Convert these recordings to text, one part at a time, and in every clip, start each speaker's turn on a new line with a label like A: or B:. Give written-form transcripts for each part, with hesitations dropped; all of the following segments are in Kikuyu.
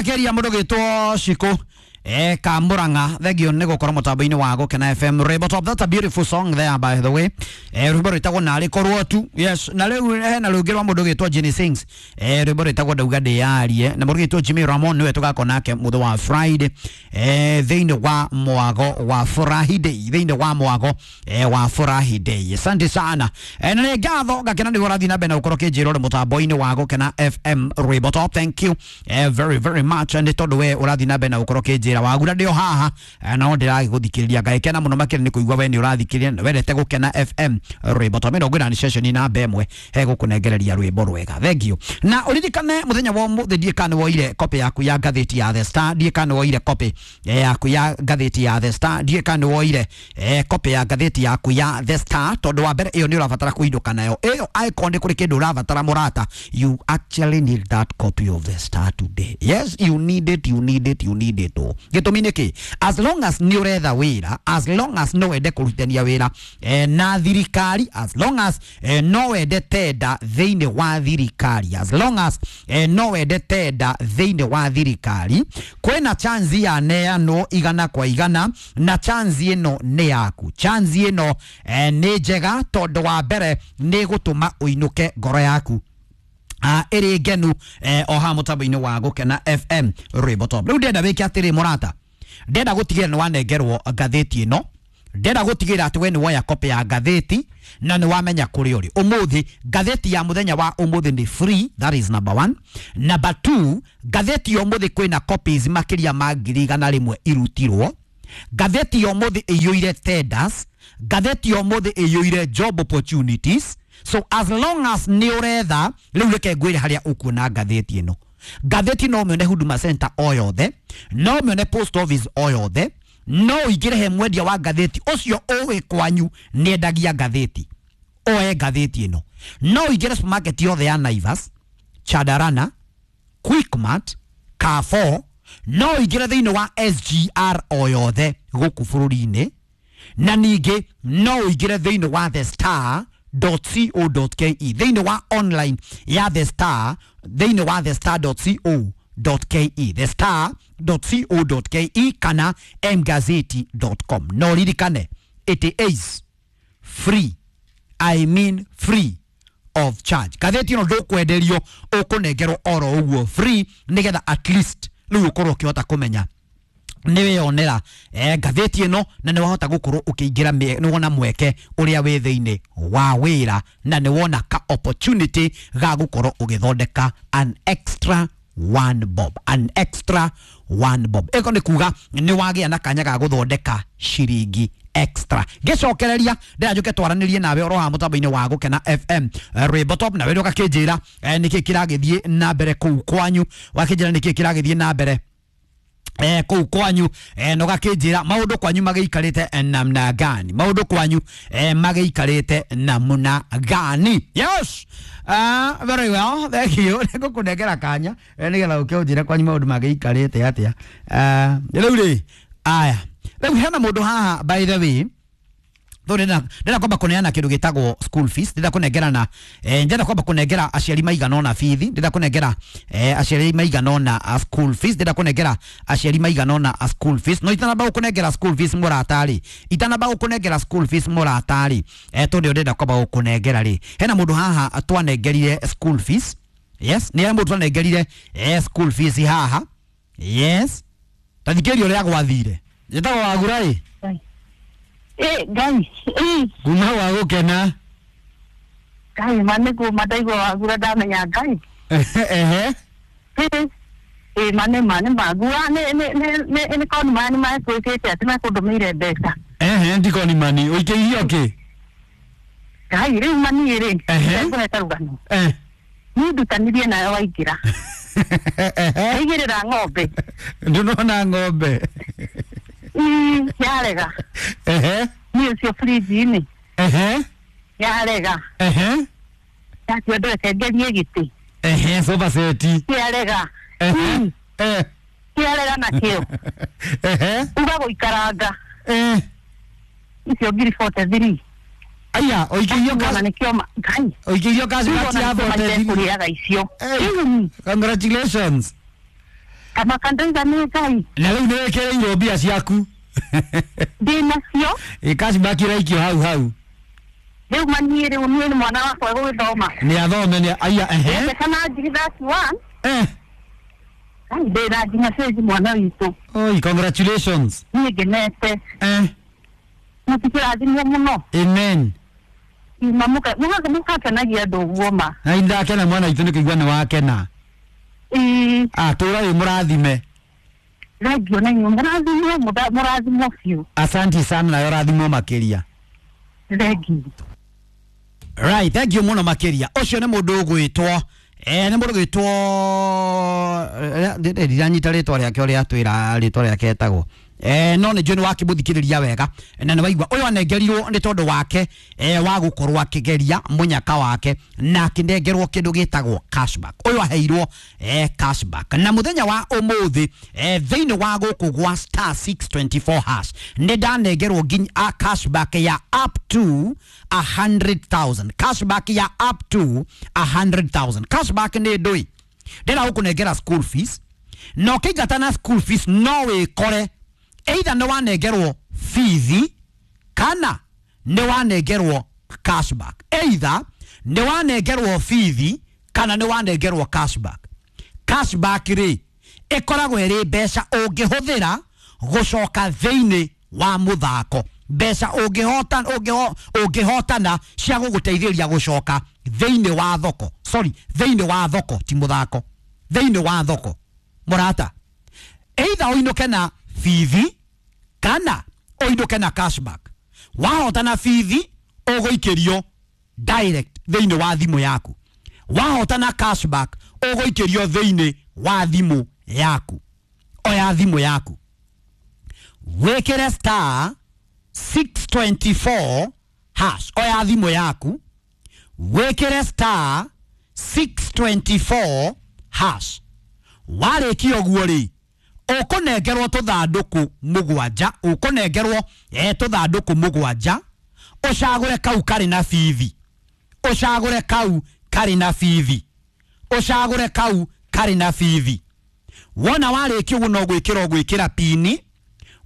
A: makeria mundu gitwo Shiko Kamuranga, thegio nĩ gũkorwo mũtambo-inĩ wa Gũkena FM Rwĩmbo Top. That's a beautiful song there, by the way. Rwĩmbo rwĩtagwo Narĩ Korwo Tu. Yes, na rĩu hena rũngĩ rwa mũndũ gĩtwo Jenny Sings, rwĩmbo rwĩtagwo Ndauga Ndĩyarie, na mũndũ gĩtwo Jimmy Ramon nĩwe tũgakorwo nake mũthĩ wa Friday thĩinĩ wa mwago wa Furahi Day, thĩinĩ wa mwago wa Furahi Day. Asante sana. Na nĩ ngatho ngakena nĩguo ũrathiĩ na mbere na gũkorwo ũkĩnjĩra ũrĩ mũtambo-inĩ wa Gũkena FM Rwĩmbo Top. Thank you very very much, nĩ tondũ we ũrathiĩ na mbere na gũkorwo ũkĩnjĩra wagura ndĩ o haha, no ndĩragĩgũthikĩrĩria. Ngagĩkena mũno makĩria nĩ kũigua we nĩ ũrathikĩrĩria na wendete Gũkena FM Rwĩmbo Top. 40 session namba ĩmwe hegũkũnengereria rwĩmbo rwega. Thank you. Na ũririkane mũthenya wa ũmũthĩ, ndiĩ kana nĩwoire copy yaku ya ngathĩti ya The Star, ndiĩ kana nĩwoire copy yaku ya ngathĩti ya The Star, ndiĩ kana nĩwoire copy ya ngathĩti yaku ya The Star, tondũ wa mbere ĩyo nĩ ũrabatara kũinũka nayo ĩyo. Angĩkorwo nĩ kũrĩ kĩndũ ũrabatara mũrata, you actually need that copy of The Star today. Yes, you need it, you need it, you need it. Oh, gĩtũmi nĩ kĩ? As long as nĩ ũretha wĩra, as long as no wende kũrutithania wĩra na thirikari, as long as no wende tenda thĩinĩ wa thirikari, as long as no wende tenda thĩinĩ wa thirikari, kwĩna chance ya neanwo 100%, na chance ĩno nĩ yaku. Chance ĩno nĩ njega tondũ wa mbere nĩ gũtũma ũinũke ngoro yaku ĩrĩ ngenu o haha mũtambo-inĩ wa Gũkena FM Rwĩmbo Top. Rĩu ndĩrenda wĩke atĩrĩ mũrata, ndĩrenda gũtigĩrĩra nĩ wanengerwo ngathĩti ĩno, ndĩrenda gũtigĩrĩra atĩ we nĩ woya copy ya ngathĩti na nĩ wamenya kũrĩa ũrĩ ũmũthĩ. Ngathĩti ya mũthenya wa ũmũthĩ nĩ free, that is number one. Number two, ngathĩti ya ũmũthĩ kwĩna copies makĩria ma 100,000 irutirwo. Ngathĩti ya ũmũthĩ ĩiyũire tenders, ngathĩti ya ũmũthĩ ĩiyũire job opportunities. So as long as nĩ ũretha, rĩu reke ngwĩre harĩa ũkuona ngathĩti ĩno. Ngathĩti no ũmĩone Huduma Center o yothe, no ũmĩone post office o yothe, no ũingĩre he mwendia wa ngathĩti ũcio ũĩ kwanyu nĩendagia ngathĩti, oe ngathĩti ĩno. No ũingĩre supermarket yothe ya Naivas, Chandarana, Quickmart, Carrefour, no ũingĩre thĩinĩ wa SGR o yothe gũkũ bũrũri-inĩ, na ningĩ no ũingĩre thĩinĩ wa The Star .co.ke, thĩinĩ wa online ya The Star, thĩinĩ wa the star.co.ke, the star.co.ke kana mgazeti.com. No ririkane, it is free, I mean free of charge. Ngathĩti ĩno ndũkwenderio, ũkũnengerwo oro ũguo free, nĩgetha at least rĩu ũkorwo ũkĩhota kũmenya nĩ weyonera ngathĩti ĩno na nĩ wahota gũkorwo ũkĩingĩra, nĩ wona mweke ũrĩa wĩ thĩinĩ wa wĩra, na nĩ wona ka opportunity ga gũkorwo ũgĩthondeka an extra one bob, an extra one bob. Ĩko nĩ kuga nĩ wagĩa na kanya ga gũthondeka ciringi extra. Ngĩcokereria ndĩra njũke twaranĩrie nawe oro haha mũtambo-inĩ wa Gũkena FM Rwĩmbo Top, na wĩrĩ ũgakĩnjĩra nĩkĩ kĩragĩthiĩ na mbere kũu kwanyu, wakĩnjĩra nĩkĩ kĩragĩthiĩ na mbere kũu kwanyu, na ũgakĩnjĩra maũndũ kwanyu magĩikarĩte namna gani, maũndũ kwanyu magĩikarĩte namna gani. Yes, very well, thank you. Nĩngũkũnengera kanya nĩgetha ũke ũnjĩre kwanyu maũndũ magĩikarĩte atĩa. Rĩu rĩ, aya rĩu hena mũndũ haha, by the way, ndĩrenda kwamba kũneana kĩndũ gĩtagwo school fees. Ndĩrenda kũnengerana, ndĩrenda kwamba kũnengera aciari maigana ũna bithi, ndĩrenda kũnengera aciari maigana ũna school fees, ndĩrenda kũnengera aciari maigana ũna school fees. No itanamba gũkũnengera school fees mũrata-rĩ, itanamba gũkũnengera school fees mũrata-rĩ, tondũ ndĩrenda kwamba gũkũnengera rĩ, hena mũndũ haha twanengerire school fees. Yes, nĩ mũndũ twanengerire school fees haha. Yes, tathikĩria ũrĩa gwathire. Njĩtagwo Wagura ĩ.
B: Ngai.
A: Kuma wa Gũkena.
B: Ngai, ma nĩ kuma ndaigua Wagura ndamenya Ngai.
A: Ehe.
B: Ĩ ma nĩ ma nĩ ma ngua nĩ nĩ nĩ nĩ koni mani mekwĩkĩte atĩ mekũndũmĩire mbeca.
A: Ehe, ndikoni mani ũikĩirio kĩ?
B: Ngai, rĩu maniĩ rĩ,
A: Ehe.
B: ngũheta rũgano. Niĩ ndutanirie nawe waingĩra. Ndaigĩrĩra ng'ombe.
A: Ndũnona ng'ombe?
B: Ii, yarega.
A: Ehe.
B: Niĩ ũcio fridge-inĩ.
A: Ehe.
B: Yarega.
A: Ehe.
B: Ndatua ndweke ngerie gĩtĩ.
A: Ehe, sofa set.
B: Kĩarega.
A: Ehe.
B: Kĩarega nakĩo.
A: Ehe.
B: Uga gũikaranga. Icio 43,000.
A: Aya, ũikĩirio
B: Ona nĩkĩo Ngai.
A: Ũikĩirio cash
B: Rĩu
A: ya
B: ona nĩkĩo
A: 43.
B: kũrĩaga icio.
A: Hey, congratulations.
B: Kamaka ndoiga nĩ Ngai.
A: Na rĩu nĩ wĩkĩrĩirwo mbia ciaku.
B: Ndĩ nacio.
A: Ĩ cashback iraikio hau hau.
B: Rĩu maniĩ rĩu niĩ nĩ mwana wakwa gũgĩthoma.
A: Nĩ athome nĩ aya ehe.
B: Mbeca na ngiri 31.
A: Eh.
B: Ai, ndĩ na nginya cenji mwana witũ.
A: Oi, congratulations.
B: Niĩ ngenete.
A: Eh.
B: Mũtikĩrathimwo mũno.
A: Amen.
B: Ima mũgakenagia andũ ũguo ma.
A: Na indakena mwana witũ nĩ kũigua nĩ wakena.
B: Ĩĩ.
A: Ah, tũra wĩ mũrathime.
B: Thengio na inyuĩ mũrathimwo mũrathimwo biũ.
A: Asante sana nawe ũrathimwo makĩria.
B: Thengio.
A: Right, thank you muno makiria. Ucio ni mundu ugwitwo nĩ mũndũ ũgwĩtwo ndiranyita rĩtwa rĩake ũrĩa atwĩra rĩtwa rĩake etagwo no nĩ njũĩ nĩ wakĩmũthikĩrĩria wega na nĩ waigua ũyũ anengerirwo nĩ tondũ wake wa gũkorwo akĩgeria mũnyaka wake na akĩnengerwo kĩndũ gĩtagwo cashback. Ũyũ aheirwo cashback na mũthenya wa ũmũthĩ thĩinĩ wa gũkũ gwa star 624 hash nĩ ndanengerwo nginya a cashback ya up to 100,000. Cashback ya up to 100,000. Cashback nĩ ndũi ndĩra gũkũnengera school fees na ũkĩingata na school fees no wĩkore either nĩ wanengerwo fees kana nĩ wanengerwo cashback. Either nĩ wanengerwo fees kana nĩ wanengerwo cashback. Cashback rĩ ĩkoragwo ĩrĩ mbeca ũngĩhũthĩra gũcoka thĩinĩ wa mũthako, mbeca ũngĩhotana cia gũgũteithĩrĩria gũcoka thĩinĩ wa thoko. Sorry, thĩinĩ wa thoko ti mũthako, thĩinĩ wa thoko mũrata. Either ũinũke na bithi kana ũinũke na cashback. Wahotana bithi ũgũikĩrio direct thĩinĩ wa thimũ yaku. Wahotana cashback ũgũikĩrio thĩinĩ wa thimũ yaku. Oya thimũ yaku wĩkĩre star 624 hash. Oya thimũ yaku wĩkĩre star 624 hash. Warĩkia ũguo rĩ ũkũnengerwo tũthandũkũ mũgwanja, ũkũnengerwo tũthandũkũ mũgwanja, ũcagũre kau karĩ na bithi, ũcagũre kau karĩ na bithi, ũcagũre kau karĩ na bithi. Wona warĩkia ũguo no gwĩkĩra ũgwĩkĩra pini,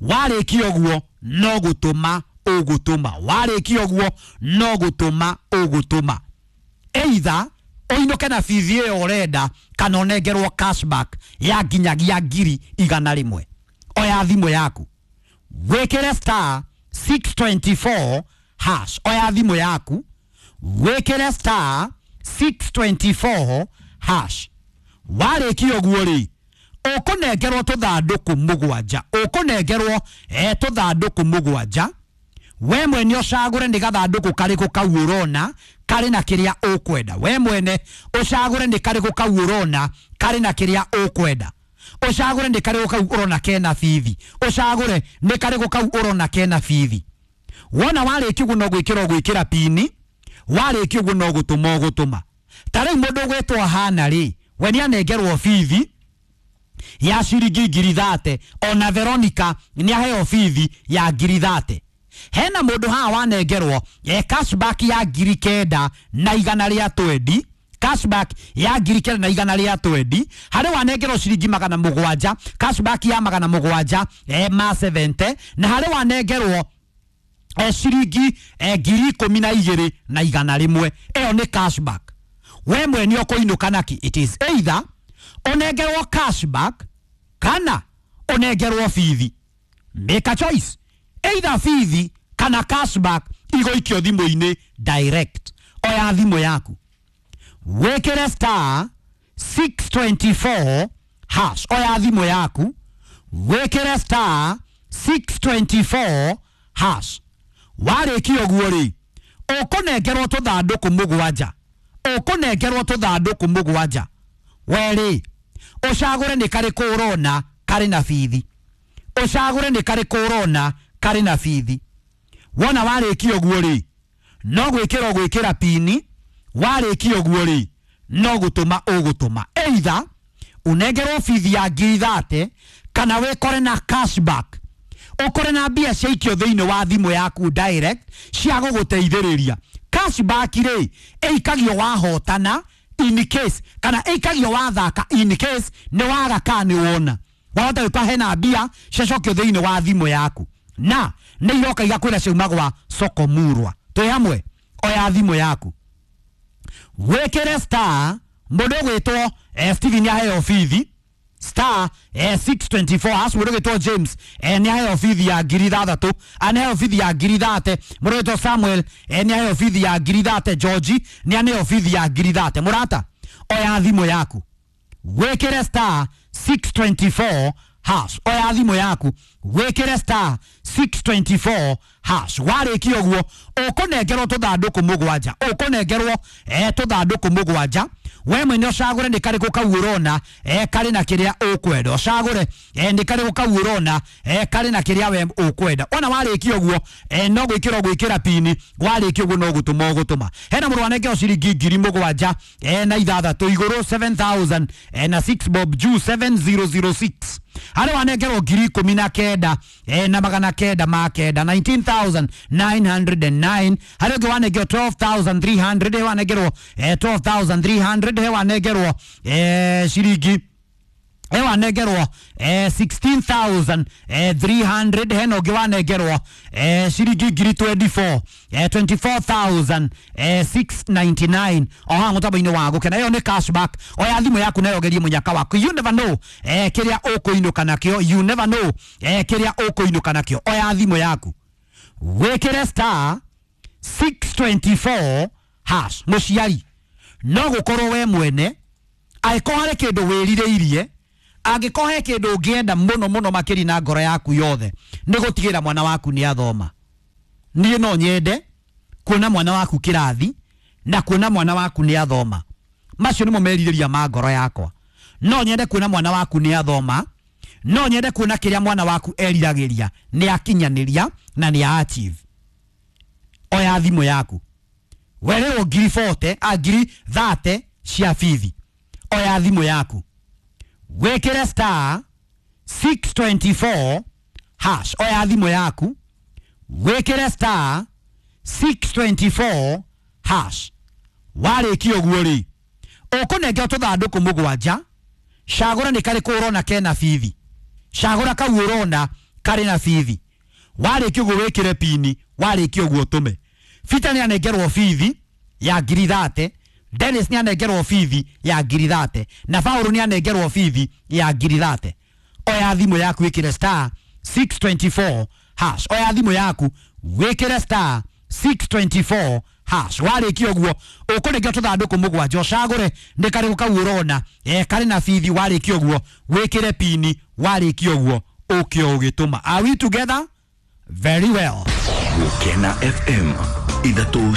A: warĩkia ũguo no gũtũma ũgũtũma, warĩkia ũguo no gũtũma ũgũtũma. Either ũinũke na bithi ĩyo ũrenda kana ũnengerwo cashback ya nginyagia 100,000. Oya thimũ yaku wĩkĩre star 624 hash. Oya thimũ yaku wĩkĩre star 624 hash. Warĩkia ũguo rĩ ũkũnengerwo tũthandũkũ mũgwanja, ũkũnengerwo tũthandũkũ mũgwanja. We mwene ũcagũre nĩ gathandũkũ karĩkũ kau ũrona karĩ na kĩrĩa ũkwenda. We mwene ũcagũre nĩ karĩkũ kau ũrona karĩ na kĩrĩa ũkwenda. Ũcagũre nĩ karĩkũ kau ũrona kena bithi. Ũcagũre nĩ karĩkũ kau ũrona kena bithi. Wona warĩkia ũguo no gwĩkĩra ũgwĩkĩra pini, warĩkia ũguo no gũtũma ũgũtũma. Ta rĩu mũndũ ũgwĩtwo Hana rĩ, we nĩanengerwo bithi ya ciringi 30,000, ona Veronica nĩaheo bithi ya 30,000. Hena mũndũ haha wanengerwo cashback ya 9,120, cashback ya 9,120. Harĩ wanengerwo ciringi 700, cashback ya 700 ma 70, na harĩ wanengerwo ciringi 12,100. Ĩyo nĩ cashback. We mwene ũkũinũka naki? It is either ũnengerwo cashback kana ũnengerwo bithi. Make a choice. Either bithi kana cashback igũikio thimũ-inĩ direct. Oya thimũ yaku wĩkĩre star 624 hash. Oya thimũ yaku wĩkĩre star 624 hash. Warĩkia ũguo rĩ ũkũnengerwo tũthandũkũ mũgwanja, ũkũnengerwo tũthandũkũ mũgwanja. We rĩ ũcagũre nĩ karĩkũ ũrona karĩ na bithi, ũcagũre nĩ karĩkũ ũrona karĩ na bithi. Wona warĩkia ũguo rĩ no gwĩkĩra ũgwĩkĩra pini, warĩkia ũguo rĩ no gũtũma ũgũtũma. Either ũnengerwo bithi ya 30,000 kana wĩkore na cashback, ũkore na mbia ciaikio thĩinĩ wa thimũ yaku direct cia gũgũteithĩrĩria. Cashback rĩ ĩikagio wahotana In case kana ĩikagio wathaka, in case nĩ waga kana nĩ wona wahota gwĩka hena mbia ciacokio thĩinĩ wa thimũ yaku na nĩ iroka igakwĩra ciauma gwa soko murwa. Twĩ hamwe, oya thimũ yaku wĩkĩre star. Mũndũ ũgwĩtwo Steven aheo bithi star 624 hash. Mũndũ ũgwĩtwo James nĩ aheo bithi ya 6,000, aneheo bithi ya 30,000. Mũndũ ũgwĩtwo Samuel nĩ aheo bithi ya 30,000. George nĩ aneo bithi ya 30,000. Mũrata, oya thimũ yaku wĩkĩre star 624 hash. Oya thimũ yaku wĩkĩre star 624 hash. Warĩkia ũguo ũkũnengerwo tũthandũkũ mũgwanja, ũkũnengerwo tũthandũkũ mũgwanja. We mwene ũcagũre nĩ karĩkũ kau ũrona karĩ na kĩrĩa ũkwenda. Ũcagũre nĩ karĩkũ kau ũrona karĩ na kĩrĩa we ũkwenda. Ona warĩkia ũguo no gwĩkĩra ũgwĩkĩra pini. Warĩkia ũguo no gũtũma ũgũtũma. Hena mũrũ wanengerwo ciringi 7,006 igũrũ, 7000 na 6 bob juu, 7006. Harĩ wanengerwo 19,909, 19,909. Harĩ ũngĩ wanengerwo 12,300, he wanengerwo 12,300, he wanengerwo ciringi, he wanengerwo 16,300. Hena ũngĩ wanengerwo ciringi ngiri 24, 24,699 o haha mũtambo-inĩ wa gũkena. Ĩyo nĩ cashback. Oya thimũ yaku nayo ũgerie mũnyaka waku. You never know kĩrĩa ũkũinũka nakĩo. You never know kĩrĩa ũkũinũka nakĩo. Oya thimũ yaku wĩkĩre star 624 hash. Mũciari, no gũkorwo we mwene angĩkorwo harĩ kĩndũ wĩrirĩirie, angĩkorwo he kĩndũ ũngĩenda mũno mũno makĩria na ngoro yaku yothe nĩ gũtigĩra mwana waku nĩ athoma. Niĩ no nyende kuona mwana waku kĩrathi na kuona mwana waku nĩ athoma. Macio nĩmo merirĩria ma ngoro yakwa. No nyende kuona mwana waku nĩ athoma, no nyende kuona kĩrĩa mwana waku eriragĩria nĩ akinyanĩria na nĩ achieve. Oya thimũ yaku werĩrwo ngiri 40 a 30,000 cia bithi. Oya thimũ yaku wĩkĩre star 624 hash. Oya thimũ yaku wĩkĩre star 624 hash. Warĩkia ũguo rĩ, ũkũnengerwo tũthandũkũ mũgwanja. Cagũra nĩ karĩkũ ũrona kena bithi. Cagũra kau ũrona karĩ na bithi. Warĩkia ũguo wĩkĩre pini. Warĩkia ũguo ũtũme. Peter nĩ anengerwo bithi ya 30,000, Dennis nĩ anengerwo bithi ya 30,000 na Paul nĩ anengerwo bithi ya 30,000. Oya thimũ yaku wĩkĩre star 624 hash. Oya thimũ yaku wĩkĩre star 624 hash. Warĩkia ũguo ũkũnengerwo tũthandũkũ mũgwanja, ũcagũre nĩ karĩkũ kau ũrona karĩ na bithi. Warĩkia ũguo wĩkĩre pini. Warĩkia ũguo ũkĩo ũgĩtũma. Are we together? Very well.
C: Gukena FM 3.